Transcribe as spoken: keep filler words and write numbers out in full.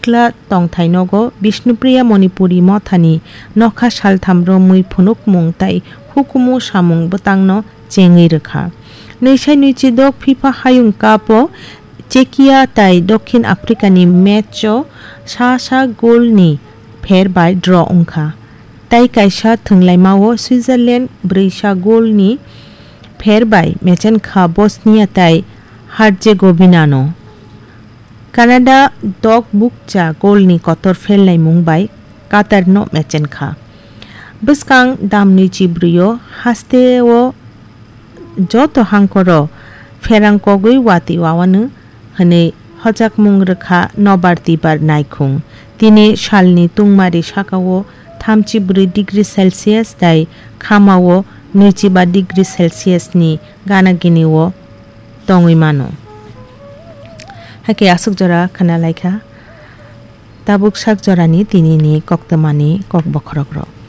sikla tongthai nogo Bishnupriya Manipuri mothani nokha saltham romwi phunukmung tai hukumu samung bwtangno chengwi rwkha. Nwisai nwichi dok FIFA Hayung Cup o Czechia tai Dokhin Africa ni match o sa sa goal ni pher bai draw wngkha. Tai kaisa thwnglaima o Switzerland brwi sa goal ni pher bai mechenkha Bosnia tai Herzegovina no. Canada dok bukcha goal ni kotor pherlaimung bai Qatar no mechenkha. Bwskang dam nwichi brwi o haste o joto hangkoro pherang kogwi watwi wawanu hwnwi hojakmung rwkha nobar tibar naikhung. Tini salni tungmari sakao thamchi bwrwi degree Celsius tai khamao nwichi ba degree Celsius ni gana gini o tongwi mano. Hakhe aswk jora khna laikha tabuk sak jorani tinini koktwmani kok bokhorok rok.